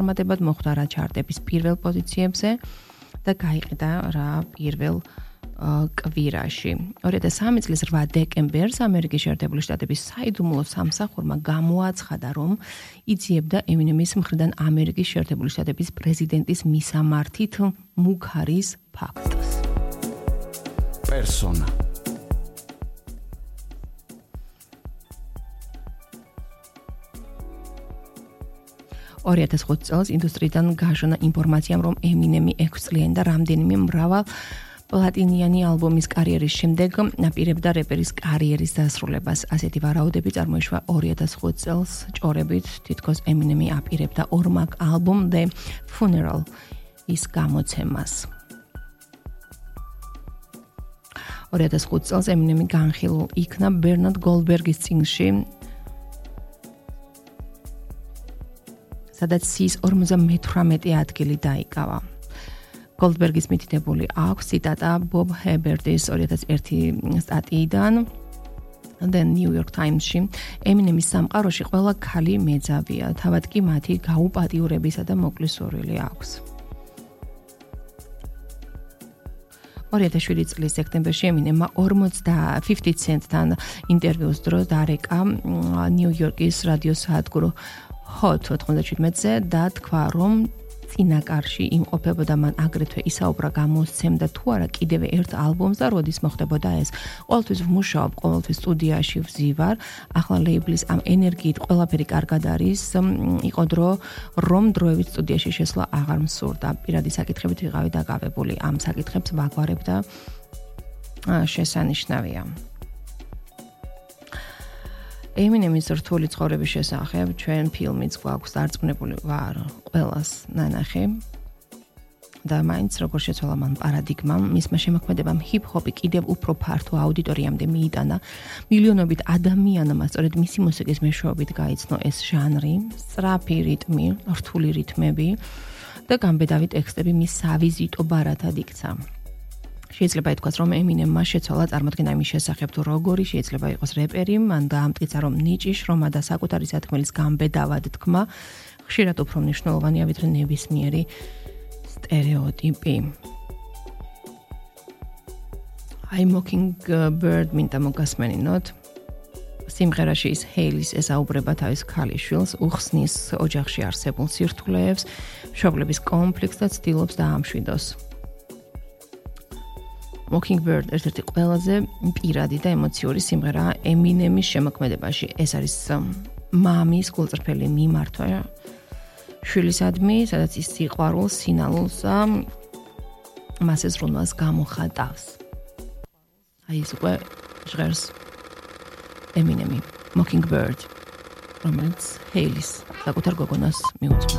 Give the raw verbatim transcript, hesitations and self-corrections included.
ფორმატებად მოხვდა რა ჩარტების პირველ პოზიციებზე და გაიყიდა რა პირველ კვირაში. ორი ათას სამი წლის რვა დეკემბერს ამერიკის შეერთებული შტატების საიდუმლო სამსახურმა გამოაცხადა, რომ იძიებდა ემინემის მხრიდან ამერიკის შეერთებული შტატების პრეზიდენტის მისამართით მუქარის ფაქტს. Persona. ორი ათას ხუთი წელს ინდუსტრიიდან გაშონა ინფორმაციამ, რომ ემინემი ექვს წლიანი და რამდენიმე მრავალ პლატინიანი ალბომის კარიერის შემდეგ აპირებდა რეპერის კარიერის დასრულებას. ასეთი ვარაუდები წარმოიშვა ორი ათას ხუთი წელს ჭორებით, თითქოს ემინემი აპირებდა ორმაგ ალბომ The Funeral ის გამოცემას. ორი ათას ხუთი წელს ემინემი განხილულ იქნა ბერნარდ გოლდბერგის წიგნში, სადაც ის ორმოცდამეთვრამეტე ადგილი დაიკავა. გოლდბერგის მითითებული აქვს ციტატა ბობ ჰებერტის ორი ათას ერთი სტატიიდან The New York Times-ში. ემინემის სამყაროში ყველა ქალი მეძავია, თავად კი მათი გაუპატიურებისა და მოკლისურვილი აქვს. ორი ათას შვიდი წლის სექტემბერში ემინემმა ორმოცდამეტ ცენტთან ინტერვიუს დროს დარეკა ნიუ-იორკის რადიო საადგურო Hot ოთხმოცდაჩვიდმეტზე და თქვა, რომ წინაკარში იმყოფებოდა, მან აგრეთვე ისაუბრა გამოსცემდა თუ არა კიდევ ერთ ალბომს და როდის მოხდებოდა ეს. ყოველთვის ვმუშაობ, ყოველთვის სტუდიაში ვზივარ, ახლა ლეიბლის ამ ენერგიით ყველაფერი კარგად არის, იყო დრო, რომ დროებით სტუდიაში შესვლა აღარ მსურდა. პირადი საკითხებით ვიყავი დაკავებული, ამ საკითხებს ვაგვარებ და შესანიშნავია. ემინემის რთული ცხოვრების შესახებ ჩვენ ფილმიც გვაქვს დარწმუნებული ვარ ყველას ნანახი და მაინც როგორ შეცვალა მან პარადიგმამ, მისმა შემოქმედებამ ჰიპ-ჰოპი კიდევ უფრო ფართო აუდიტორიამდე მიიტანა, მილიონობით ადამიანმა სწორედ მისი მუსიკის მეშვეობით გაიცნო ეს ჟანრი, სწრაფი რიტმი, რთული რითმები და გამბედავი ტექსტები მის სავიზიტო ბარათად იქცა. შეიძლება ითქვას, რომ ემინემმა შეცვალა წარმოდგენა იმის შესახებ, თუ როგორი შეიძლება იყოს რეპერი, მან დაამტკიცა, რომ ნიჭი, შრომა და საკუთარი სათქმელის გამბედავად თქმა ხშირად უფრო მნიშვნელოვანია, ვიდრე ნებისმიერი სტერეოტიპი. I Mockingbird მინდა მოგასმენინოთ. სიმღერაში ის ჰეილის ესაუბრება თავის ქალიშვილს, უხსნის ოჯახში არსებულ სირთულეებს, მშობლების კონფლიქტს და ცდილობს დაამშვიდოს. Mockingbird ერთ-ერთი ყველაზე პირადი და ემოციური სიმღერაა ემინემის შემოქმედებაში. ეს არის მამის გულწრფელი მიმართვა შვილისადმი, სადაც ის სიყვარულს, სინალულს და მასზე ზრუნვას გამოხატავს. აი ეს უკვე ჟღერს ემინემი, Mockingbird, რომელიც ჰეილის საკუთარ გოგონას მიუძღვნა.